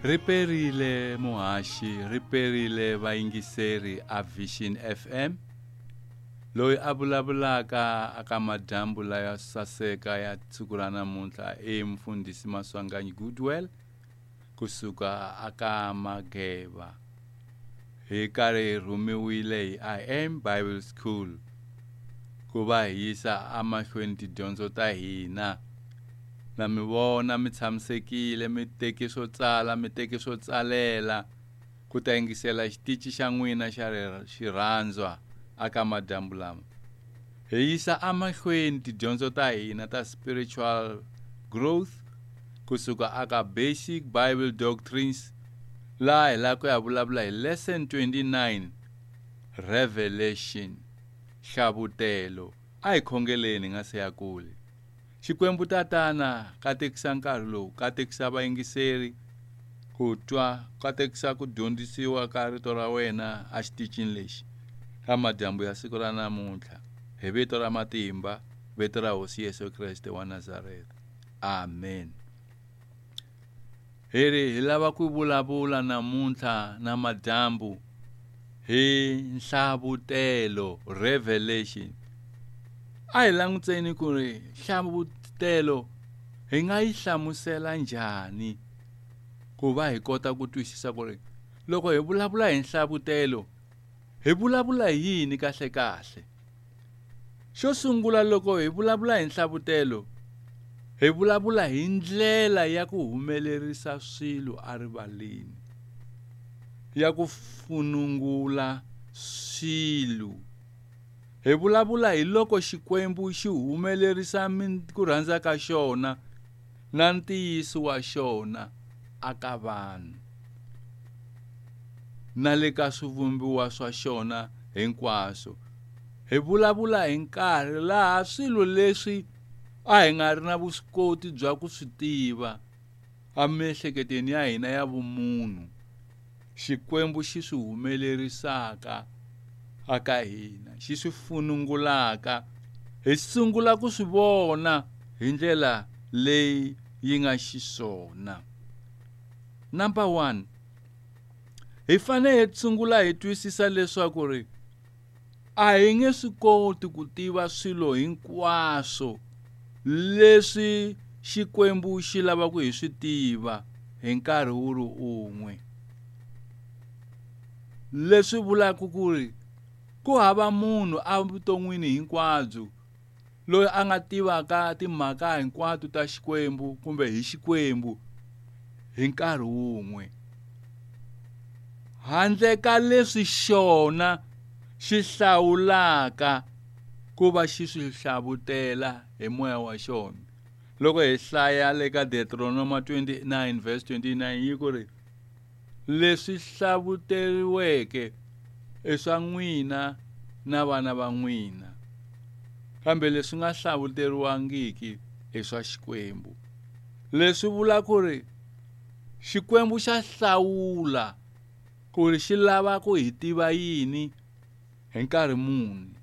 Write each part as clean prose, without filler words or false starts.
Ri perile muhaxi, ri perile vayingiseri a Vision FM. Loyi a vulavulaka aka madyambu laya saseka ya siku ra namuntlha i mfundhisi Maswanganyi Goodwell kusuka aka Mageva. Hi karhi hi rhumiwile hi I am Bible School ku va hi yisa emahlweni tidyondzo ta hina. Na mi vona mi tshamisekile mi teki swo tsala mi teki swo tsalela ku ta yingisela xitichi xa n'wina xa xirhandzwa aka madyambu lama. Hi yisa emahlweni tidyondzo ta hina ta spiritual growth kusuka aka Basic Bible Doctrines laha hi lava ku ya vulavula hi lesson 29 Revelation hlavutelo. A hi khongeleni hi nga se ya kule. Xikwembu Tatana, katekisa nkarhi lowu, katekisa vayingiseri ku twa, katekisa ku dyondzisiwa ka rito ra wena exitichini lexi ka madyambu ya siku ra namuntlha. Hi vito ra matimba, vito ra Hosi Yesu Kreste wa Nazareta. Amen. Hi ri hi lava ku vulavula namuntlha na madyambu hi nhlavutelo revelation. A hi languteni ku ri nhlavutelo hi nga yi hlamusela njhani ku va hi kota ku twisisa ku ri loko hi vulavula hi nhlavutelo hi vulavula hi yini kahle kahle. Xo sungula loko hi vulavula hi nhlavutelo hi vulavula hi ndlela ya ku humelerisa swilo erivaleni, ya ku funungula swilo. Hi vulavula hi loko Xikwembu xi humelerisa ku rhandza ka xona na ntiyiso wa xona aka vanhu na le ka swivumbiwa swa xona hinkwaswo. Hi vulavula hi nkarhi laha swilo leswi a hi nga ri na vuswikoti bya ku swi tiva emiehleketweni ya hina ya vumunhu, Xikwembu xi swi humelerisaka aka hina, xi swi funungulaka, hi sungula ku swi vona hi ndlela leyi yi nga xiswona. Number 1, hi fanele hi sungula hi twisisa leswaku ri a hi nge swi koti ku tiva swilo hinkwaswo leswi Xikwembu xi lavaka hi swi tiva hi nkarhi wu ri un'we. Leswi vulaka ku ri ku hava munhu evuton'wini hinkwabyo loyi a nga tivaka timhaka hinkwato ta Xikwembu kumbe hi Xikwembu hi nkarhi wun'we, handle ka leswi xona xi hlawulaka ku va xi swi hlavutela hi moya wa xona. Loko hi hlaya le ka Deuteronoma 29 verse 29 yi ku ri leswi hlavuteriweke i swa n'wina na vana va n'wina, kambe leswi nga hlavuteriwangiki i swa Xikwembu. Leswi vula ku ri Xikwembu xa hlawula ku ri xi lava ku hi tiva yini hi nkarhi muni.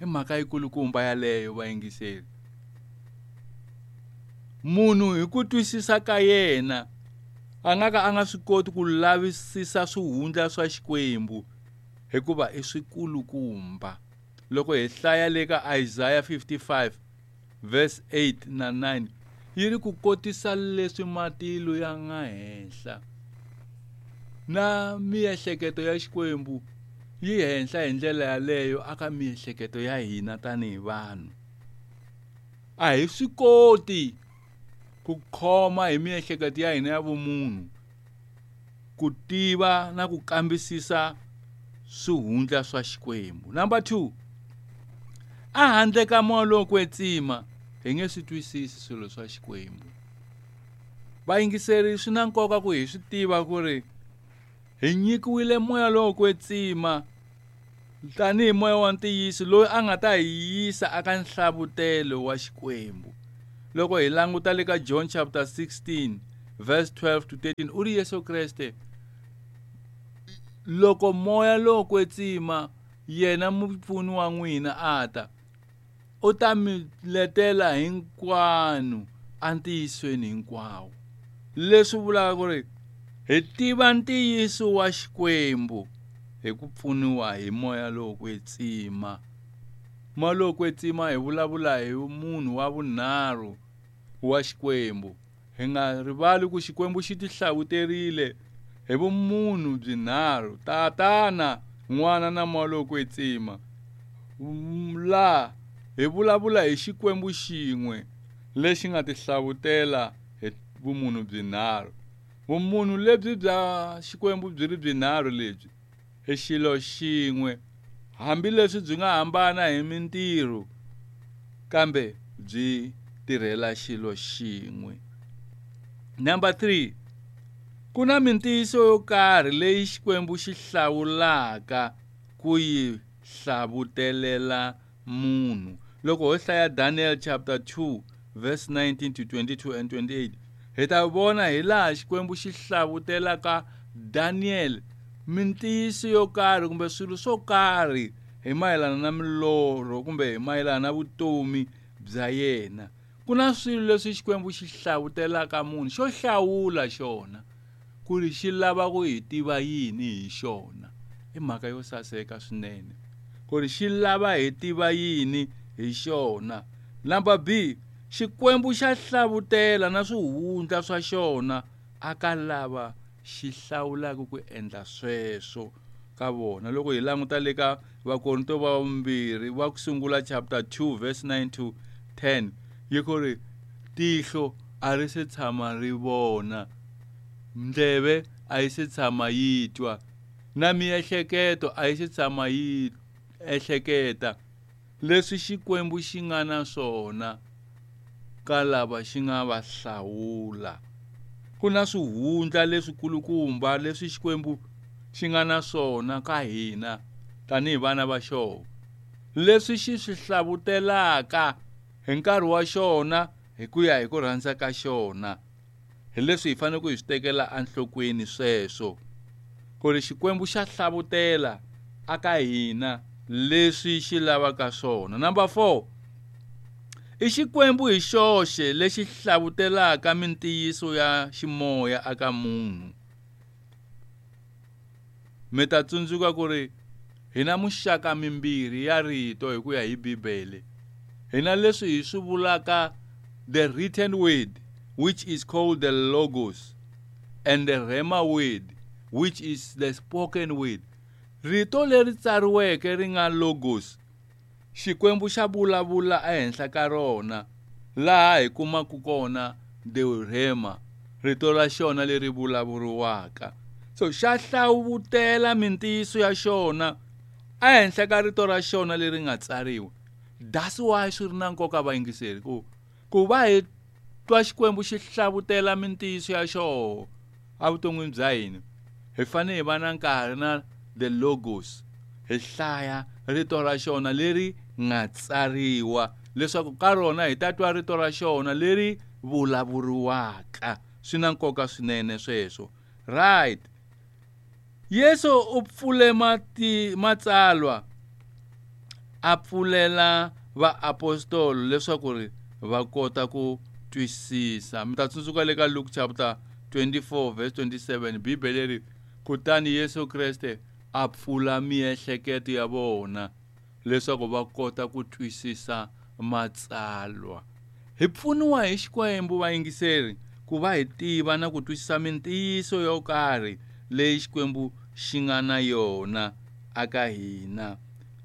I mhaka yikulukumba yaleyo vayingiseri. Munhu hi ku twisisa ka yena a nga ka a nga swi koti ku lavisisa swihundla swa Xikwembu hikuva i swikulukumba. Loko hi hlaya le ka Isaiah 55 verse 8 na 9 yi ri ku kotisa leswi matilo ya nga henhla na miehleketo ya Xikwembu yi henhla hi ndlela yaleyo aka miehleketo ya hina tanihi vanhu. A hi swi koti ku khoma hi miehleketo ya hina ya vumunhu ku tiva na ku kambisisa swihundla swa Xikwembu. Number 2, a handle ka moya lowo kwetsima hi nge swi twisisi swilo swa Xikwembu. Vayingiseri, swi na nkoka ku hi swi tiva ku ri hi nyikiwile moya lowo kwetsima tanihi moya wa ntiyiso loyi a nga ta hi yisa aka nhlavutelo wa Xikwembu. Loko hi languta le ka John chapter 16 verse 12 to 13, u ri Yesu Kreste loko moya lowo kwetsima yena mupfuni wa n'wina a ta, u ta mi letela hinkwanu entiyisweni hinkwawo. Leswi vulaka ku ri hi tiva ntiyiso wa Xikwembu hi ku pfuniwa hi moya lowo kwetsima. Moya lowo kwetsima hi vulavula hi munhu wa vunharhu wa Xikwembu. Hi nga rivali ku Xikwembu xi tihlawuterile hi vumunhu byinharhu, Tatana, N'wana na Moya lowo kwetsima. Laha hi vulavula hi Xikwembu xin'we lexi nga tihlawutela hi vumunhu byinharhu. Vumunhu lebyi bya Xikwembu byi ri byinharhu lebyi i xilo xin'we, hambileswi byi nga hambana hi mintirho, kambe byi tirhela xilo xin'we. Number 3, ku na mintiyiso yo karhi leyi Xikwembu xi hlawulaka ku yi hlavutelela munhu. Loko ho hlaya Daniel chapter 2 verse 19 to 22 and 28, hi ta vona hi laha Xikwembu xi hlavutelaka Daniel mintiyiso yo karhi kumbe swilo swo karhi hi mayelana na milorho kumbe hi mayelana na vutomi bya yena. Ku na swilo leswi Xikwembu xi hlavutelaka munhu, xo hlawula xona ku ri xi lava ku hi tiva yini hi xona. I mhaka yo saseka swinene ku ri xi lava hi tiva yini hi xona. Number B, Xikwembu xa hlavutela na swihundla swa xona aka lava xi hlawulaka ku endla sweswo ka vona. Loko hi languta le ka Vakorinto va vumbirhi va ku sungula chapter 2 verse 9 to 10, yi ku ri tihlo a ri se tshama ri vona, ndleve a yi se tshama yi twa, na miehleketo a yi se tshama yi ehleketa leswi Xikwembu xi nga na swona ka lava xi nga va hlawula. Ku na swihundla leswikulukumba leswi Xikwembu xi nga na swona ka hina tanihi vana va xona, leswi xi swi hlavutelaka hi nkarhi wa xona hi ku ya hi ku rhandza ka xona. Hi leswi hi fanele ku hi swi tekela enhlokweni sweswo, ku ri Xikwembu xa hlavutela aka hina leswi xi lavaka swona. Number 4, i Xikwembu hi xoxe lexi hlavutelaka mintiyiso ya ximoya aka munhu. Mi ta tsundzuka ku ri hi na muxaka mimbirhi ya rito hi ku ya hi Bibele. Hi na leswi hi swi vulaka the written word, which is called the logos, and the rhema word, which is the spoken word. Rito leri tsariweke ri nga logos, Xikwembu xa vulavula ehenhla ka rona, laha hi kumaka kona the rhema, rito ra xona leri vulavuriwaka. So xa hlavutela mintiyiso ya xona ehenhla ka rito ra xona leri nga tsariwa. That's why swi ri na nkoka vayingiseri ku va hi twa Xikwembu xi hlavutela mintiyiso ya xona evuton'wini bya hina, hi fanele hi va na nkarhi na the logos, hi hlaya rito ra xona leri nga tsariwa, leswaku ka rona hi ta twa rito ra xona leri vulavuriwaka. Swi na nkoka swinene sweswo. Right. Yesu u pfule matsalwa a pfulela vaapostolo leswaku ri va kota ku twisisa. Mi ta tsundzuka le ka Luke chapter 24 verse 27, Bibele ri kutani Yesu Kreste a pfula miehleketo ya vona leswaku va kota ku twisisa matsalwa. Hi pfuniwa hi Xikwembu vayingiseri ku va hi tiva na ku twisisa mintiyiso yo karhi leyi Xikwembu xi nga na yona aka hina.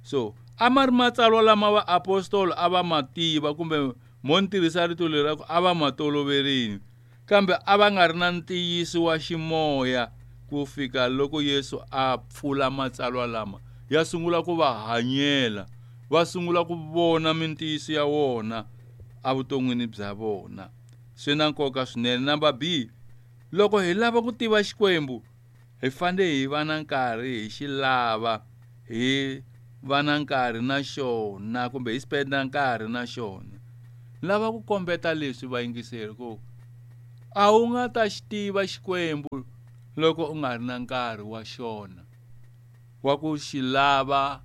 So a ma ri matsalwa lama vaapostolo a va ma tiva, kumbe mo ni tirhisa rito leri ra ku a va ma toloverini, kambe a va nga ri na ntiyiso wa ximoya ku fika loko Yesu a pfula matsalwa lama, ya sungula ku va hanyela, va sungula ku vona mintiyiso ya wona evuton'wini bya vona. Swi na nkoka swinene. Number B, loko hi lava ku tiva Xikwembu, hi fanele hi va na nkarhi hi xi lava, hi va na nkarhi na xona, kumbe hi spenda nkarhi na xona. Lava ku kombeta leswi vayingiseri ku a wu nga ta xi tiva Xikwembu loko u nga ri na nkarhi wa xona wa ku xi lava,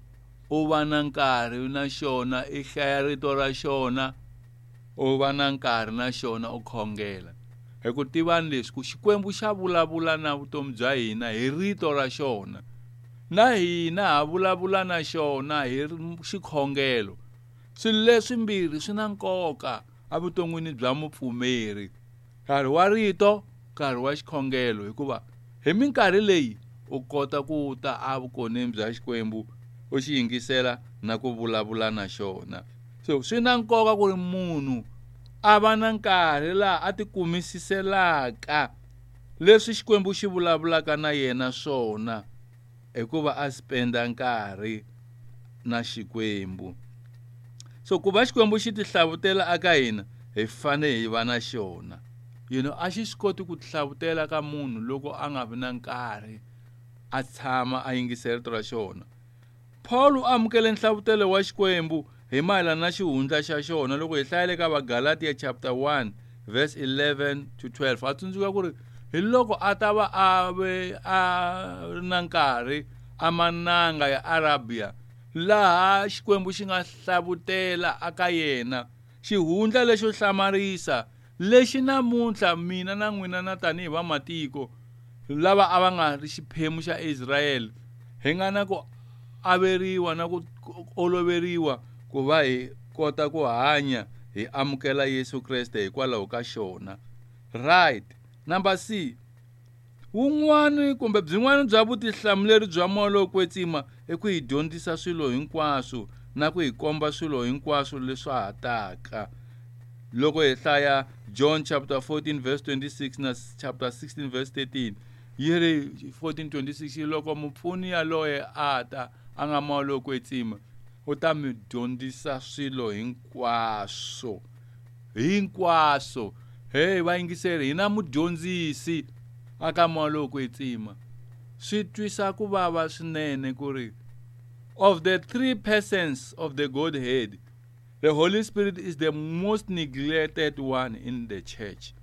u va na nkarhi na xona, i hlaya rito ra xona, u va na nkarhi na xona, u khongela. Hi ku tivani leswi ku Xikwembu xa vulavula na vutomi bya hina hi rito ra xona, na hina ha vulavula na xona hi xikhongelo. Swilo leswimbirhi swi na nkoka evuton'wini bya mupfumeri, nkarhi wa rito, nkarhi wa xikhongelo, hikuva hi minkarhi leyi u kota ku ta evukoneni bya Xikwembu u xi yingisela na ku vulavula na xona. So swi na nkoka ku ri munhu a va na nkarhi laha a tikumisiselaka leswi Xikwembu xi vulavulaka na yena swona, hikuva a spenda nkarhi na Xikwembu. So ku va Xikwembu xi tihlavutela aka hina, hi fanele hi va na xona. You know, a xi swi koti ku tihlavutela ka munhu loko a nga vi na nkarhi a tshama a yingisela rito ra xona. Paul u amukele nhlavutelo wa Xikwembu hi mayelana na xihundla xa xona loko hi hlayele ka Vagalatia chapter 1 verse 11 to 12. A tsundzuka ku ri hi loko a ta va a ve a ri na nkarhi amananga ya Arabia, laha Xikwembu xi nga hlavutela aka yena xihundla lexo hlamarisa lexi namuntlha mina na n'wina na tanihi vamatiko lava a va nga ri xiphemu xa Israyele hi nga na ku averiwa na ku oloveriwa ku va hi kota ku hanya hi amukela Yesu Kreste hikwalaho ka xona. Right. Number C, wun'wani kumbe byin'wana bya vutihlamuleri bya Moya lowo Kwetsima i ku hi dyondzisa swilo hinkwaswo na ku hi komba swilo hinkwaswo leswi ha taka. Loko hi hlaya John chapter 14 verse 26 na chapter 16 verse 13, yi ri 14:26, loko mupfuni yaloye a ta, a nga Moya lowo Kwetsima, u ta mi dyondzisa swilo hinkwaswo. Hinkwaswo. Hey, vayingiseri, hi na mudyondzisi aka Moya lowo Kwetsima. Swi twisa ku vava swinene ku ri of the three persons of the Godhead, the Holy Spirit is the most neglected one in the church.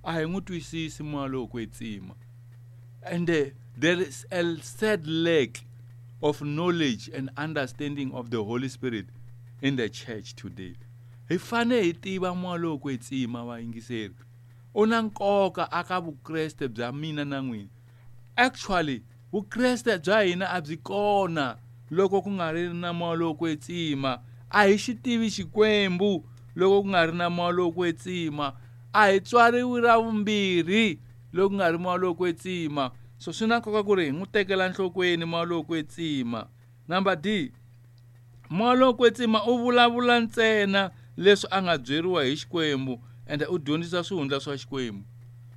A hi n'wi twisisi Moya lowo Kwetsima. And there is a sad lack of knowledge and understanding of the Holy Spirit in the church today. Hi fanele hi tiva Moya lowo Kwetsima, vayingiseri. U na nkoka aka Vukreste bya mina na n'wina. Actually, Vukreste bya hina a byi kona loko ku nga ri na Moya lowo Kwetsima. A hi xi tivi Xikwembu loko ku nga ri na Moya lowo Kwetsima. A hi tswariwi ra vumbirhi loko ku nga ri Moya lowo Kwetsima. So swi na nkoka ku ri hi n'wi tekela nhlokweni Moya lowo Kwetsima. Number D, Moya lowo Kwetsima u vulavula ntsena leswi a nga byeriwa hi Xikwembu ende u dyondzisa swihundla swa Xikwembu.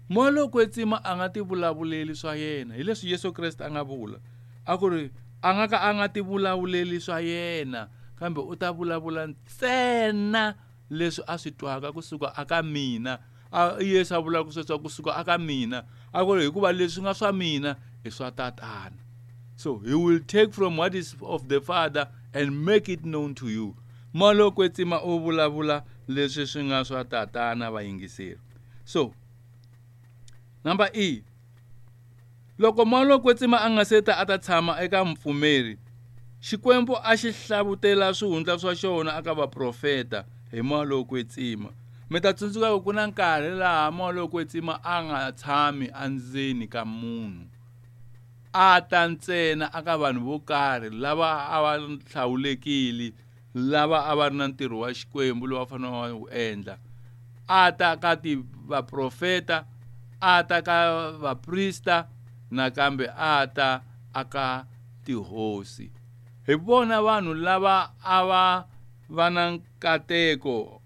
Moya lowo Kwetsima a nga tivulavuleli swa yena, hi leswi Yesu Kreste a nga vula a ku ri a nga ka a nga tivulavuleli swa yena, kambe u ta vulavula ntsena leswi a swi twaka kusuka aka mina. A Yesu a vulaka sweswo kusuka aka mina, a ku ri hikuva leswi nga swa mina i swa Tatana. So he will take from what is of the Father and make it known to you. Moya lowo Kwetsima u vulavula leswi swi nga swa Tatana, vayingiseri. So number E, loko Moya lowo Kwetsima a nga se ta a ta tshama eka mupfumeri, Xikwembu a xi hlavutela swihundla swa xona aka vaprofeta hi Moya lowo Kwetsima. Mi ta tsundzuka ku ku na nkarhi laha Moya lowo Kwetsima a nga tshami endzeni ka munhu, a ta ntsena aka vanhu vo karhi lava a va hlawulekile, lava a va ri na ntirho wa Xikwembu lowu va fanele va wu endla. A ta ka ti vaprofeta, a ta ka vaprista, nakambe a ta aka tihosi. Hi vona vanhu lava a va va na nkateko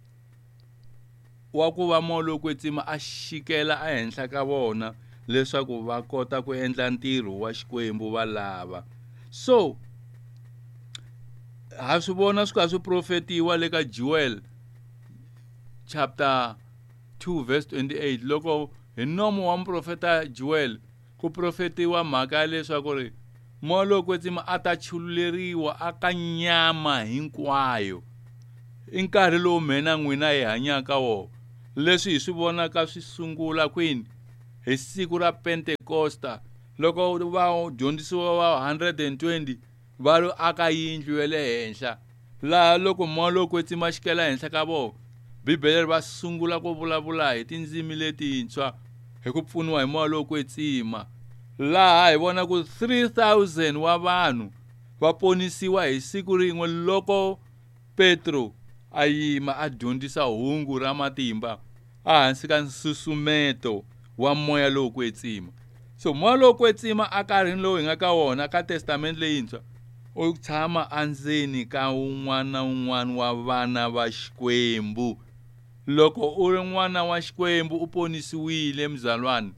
wa ku va Moya lowo Kwetsima a xikela ehenhla ka vona leswaku va kota ku endla ntirho wa Xikwembu va lava. So ha swi vona swi kha swi profetiwa le ka Joel chapter 2 verse 28, loko hi nomo wa muprofeta Joel ku profetiwa mhaka ya leswaku ri Moya lowo Kwetsima a ta chululeriwa aka nyama hinkwayo. I nkarhi lowu mina n'wina hi hanyaka wona. Leswi hi swi vonaka swi sungula kwini? Hi siku ra Pentekosta, loko vadyondzisiwa va 120 va lo aka yindlu ya le henhla, laha loko Moya lowo Kwetsima xikela henhla ka vona, Bibele va sungula ku vulavula hi tindzimi letintshwa hi ku pfuniwa hi moya lowo kwetsima. Laha hi vona ku 3000 wa vanhu va ponisiwa hi siku rin'we loko Petro a yima a dyondzisa hungu ra matimba ehansi ka nsusumeto wa moya lowo kwetsima. So moya lowo kwetsima enkarhini lowu hi nga ka wona ka testament leyintshwa u tshama endzeni ka un'wana na un'wana wa vana va Xikwembu. Loko u ri n'wana wa Xikwembu u ponisiwile mzalwane,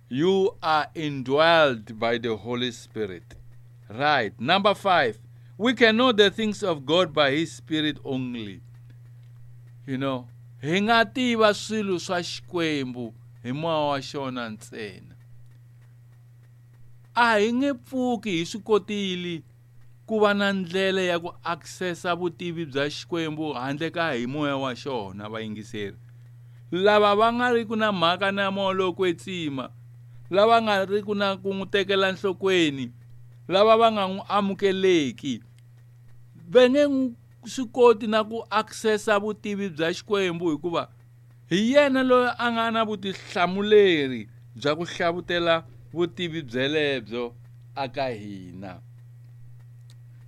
you are indwelled by the Holy Spirit. Right. Number 5, we can know the things of God by his Spirit only. You know, hi nga tiva swilo swa Xikwembu hi moya wa xona ntsena. A hi nge pfuki hi swi kotile ku va na ndlela ya ku accessa vutivi bya Xikwembu handle ka hi moya wa xona. Vayingiseri lava va nga ri ku na mhaka na moya lowo kwetsima, lava nga ri ku na ku n'wi tekela nhlokweni, lava va nga n'wi amukeleki, va nge swi koti na ku accessa vutivi bya Xikwembu, hikuva hi yena loyi a nga na vutihlamuleri bya ku hlavutela vutivi byelebyo aka hina.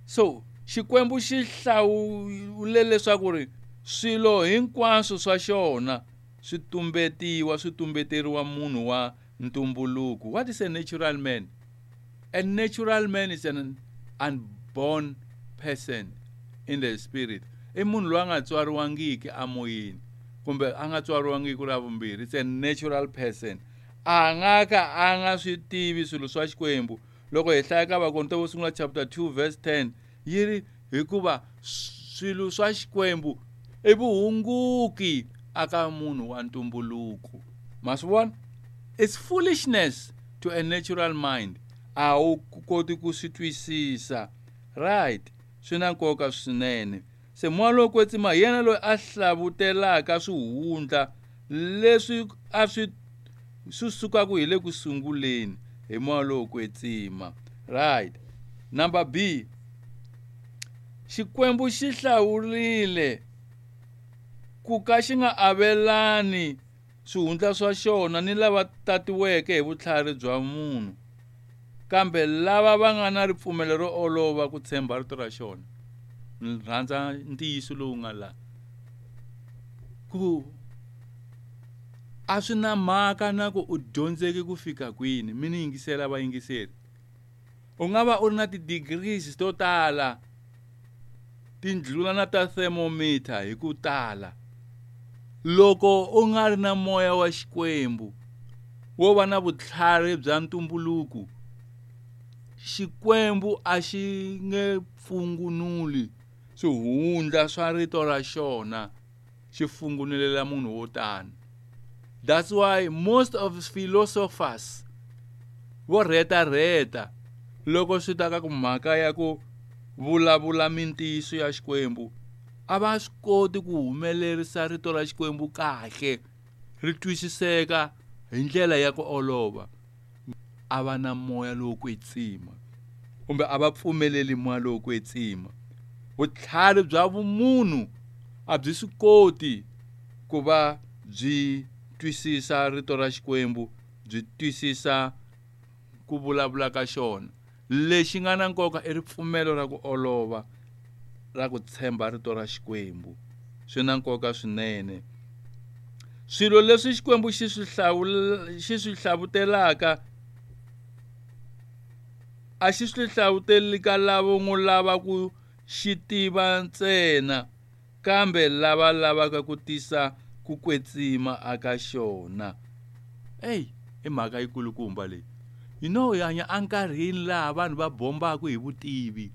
So Xikwembu xi hlawule leswaku ri swilo hinkwaswo swa xona swi tumbetiwa, swi tumbeteriwa munhu wa ntumbuluko. What is a natural man? A natural man is an unborn person in the spirit. I munhu loyi a nga tswariwangiki amoyeni, kumbe a nga tswariwangiki ra vumbirhi. It's a natural person. A nga ka a nga swi tivi swilo swa Xikwembu. Loko hi hlaya ka Vakorinto vo sungula chapter 2 verse 10, yi ri hikuva swilo swa Xikwembu i vuhunguki aka munhu wa ntumbuluko. Ma swi vona? It's foolishness to a natural mind. A wu koti ku swi twisisa. Right. Swi na nkoka swinene. Se moya lowo kwetsima hi yena loyi a hlavutelaka swihundla leswi a swi sukaka hi le ku sunguleni hi moya lowo kwetsima. Right. Number B, Xikwembu xi hlawurile ku ka xi nga avelani swihundla swa xona ni lava tatiweke hi vutlhari bya munhu, kambe lava va nga na ripfumelo ro olova ku tshemba rito ra xona. Ni rhandza ntiyiso lowu nga la ku a swi na mhaka na ku u dyondzeke ku fika kwini. Mi ni yingisela vayingiseri, u nga va u ri na ti-degrees to tala, tindlula na ta thermometer hi ku tala, loko u nga ri na moya wa Xikwembu wo va na vutlhari bya ntumbuluko, Xikwembu a xi nge pfungunuli swihundla swa rito ra xona xi fungunulela munhu wo tano. That's why most of philosophers vo rhetarheta loko swi ta ka ku mhaka ya ku vulavula mintiyiso ya Xikwembu, a va swi koti ku humelerisa rito ra Xikwembu kahle ri twisiseka hi ndlela ya ku olova. A va na moya lowo kwetsima, kumbe a va pfumeleli moya lowo kwetsima. Vutlhari bya vumunhu a byi swi koti ku va byi twisisa rito ra Xikwembu, byi twisisa ku vulavula ka xona. Lexi nga na nkoka i ripfumelo ra ku olova ra ku tshemba rito ra Xikwembu. Swi na nkoka swinene. Swilo leswi Xikwembu xi swi xi swi hlavutelaka a xi swi hlavuteli ka lavo n'wi lava ku xi tiva ntsena, kambe lava lavaka ku tisa ku kwetsima aka xona. Ey, i mhaka yikulukumba leyi. You know, hi hanya enkarhini laha vanhu va bombaka hi vutivi,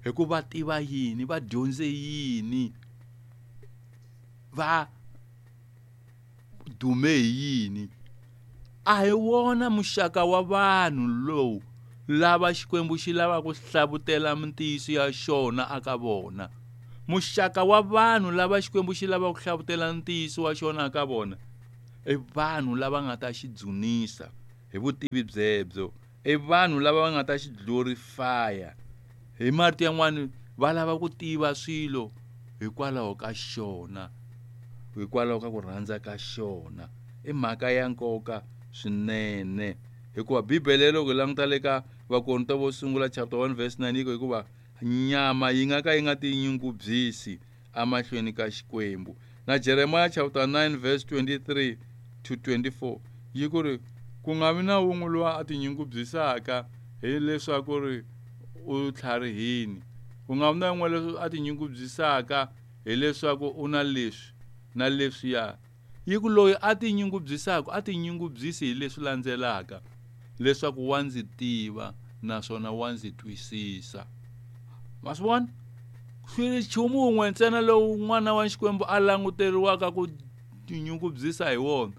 hi ku va tiva yini, va dyondze yini, va dume hi yini. A hi wona muxaka wa vanhu lowu lava Xikwembu xi lavaka ku hlavutela mintiyiso ya xona aka vona. Muxaka wa vanhu lava Xikwembu xi lavaka ku hlavutela ntiyiso wa xona aka vona i vanhu lava nga ta xi dzunisa hi vutivi byebyo, i vanhu lava va nga ta xi glorifya. Hi marito yan'wani, va lava ku tiva swilo hikwalaho ka xona, Hikwalaho ka ku rhandza ka xona. I mhaka ya nkoka swinene hikuva Bibele loko hi languta le ka Vakorinto vo sungula chapter 1 verse 9 yi ku hikuva nyama yi nga ka yi nga tinyungubyisi emahlweni ka Xikwembu. Na Jeremiah chapter 9 verse 23 to 24 yi ku ri ku nga vi na wun'we loyi a tinyungubyisaka hileswaku ri u tlharihini, ku nga vi na wun'we loyi a tinyungubyisaka hileswaku u na leswi na leswiya. Yi ku loyi a tinyungubyisaka a tinyungubyisi hi leswi landzelaka, leswaku wa ndzi tiva naswona wa ndzi twisisa. Ma swi vona? Swi ri nchumu wun'we ntsena lowu n'wana wa Xikwembu a languteriwaka ku tinyungubyisa hi wona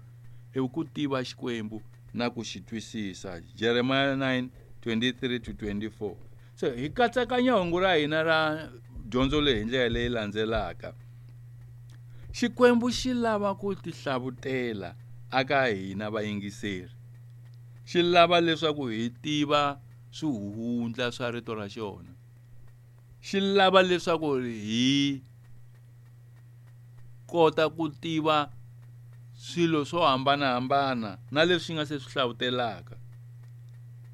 i ku tiva Xikwembu na ku xi twisisa. Jeremiah 9 23 to 24. Se hi katsakanya hungu ra hina ra dyondzo leyi hi ndlela leyi landzelaka. Xikwembu xi lava ku tihlavutela aka hina vayingiseri. Xi lava leswaku hi tiva swihundla swa rito ra xona. Xi lava leswaku hi kota ku tiva swilo swo hambanahambana na leswi nga se swi hlavutelaka.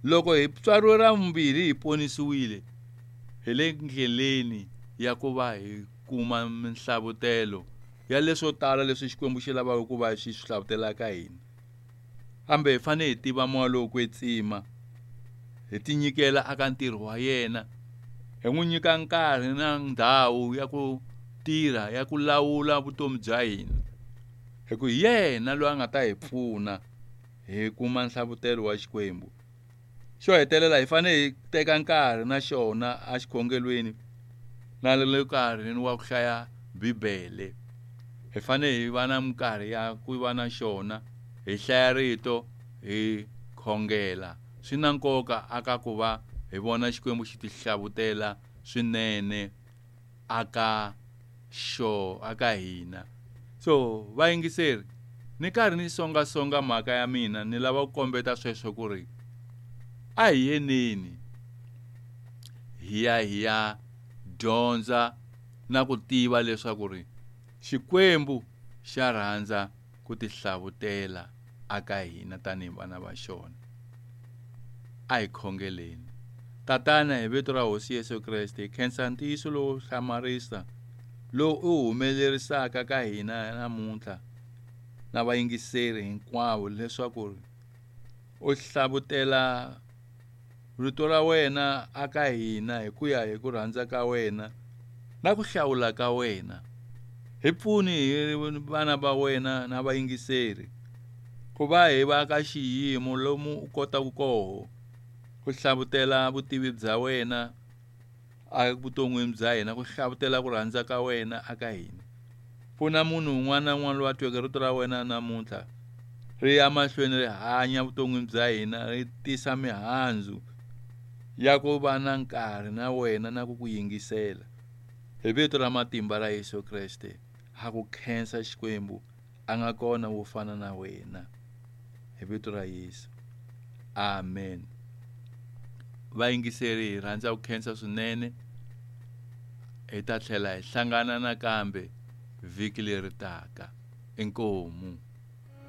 Loko hi tswariwe ra vumbirhi hi ponisiwile hi le ndleleni ya ku va hi kuma minhlavutelo ya leswo tala leswi Xikwembu xi lavaka ku va xi swi hlavutela ka hina. Kambe hi fanele hi tiva moya lowo kwetsima, hi tinyikela aka ntirho wa yena, hi n'wi nyika nkarhi na ndhawu ya ku tirha ya ku lawula vutomi bya hina. Hi ku hi yena loyi a nga ta hi pfuna hi kuma nhlavutelo wa Xikwembu. Xo hetelela hi fanele hi teka nkarhi na xona exikhongelweni na le nkarhini wa ku hlaya Bibele. Hi fanele hi va na minkarhi ya ku va na xona, hi hlaya rito, hi khongela. Swi na nkoka aka ku va hi vona Xikwembu xi tihlavutela swinene aka xo aka hina. So vayingiseri, ni karhi ni songasonga mhaka ya mina, ni lava ku kombeta sweswo ku ri a hi yeneni hi ya hi ya dyondza na ku tiva leswaku ri Xikwembu xa rhandza ku tihlavutela aka hina tanihi vana va xona. A hi khongeleni. Tatana, hi vito ra Hosi Yesu Kreste, hi khensa ntiyiso lowo hlamarisa lowu u humelerisaka ka hina namuntlha na vayingiseri hinkwavo leswaku u hlavutela rito ra wena aka hina hi ku ya hi ku rhandza ka wena na ku hlawula ka wena. Hi pfuni hi vana va wena na vayingiseri ku va hi va ka xiyimo lomu u kotaka koho ku hlavutela vutivi bya wena evuton'wini bya hina, ku hlavutela ku rhandza ka wena aka hina. Pfuna munhu un'wana na un'wana loyi a tweke rito ra wena namuntlha ri ya mahlweni ri hanya vuton'wini bya hina, ri tisa mihandzu ya ku va na nkarhi na wena na ku ku yingisela. Hi vito ra matimba ra Yesu Kreste, ha ku khensa Xikwembu, a nga kona wo fana na wena. Hi vito ra Yesu. Amen. Vayingiseri, hi rhandza ku khensa swinene. Hi ta tlhela hi hlangana nakambe vhiki leri taka. Inkomu.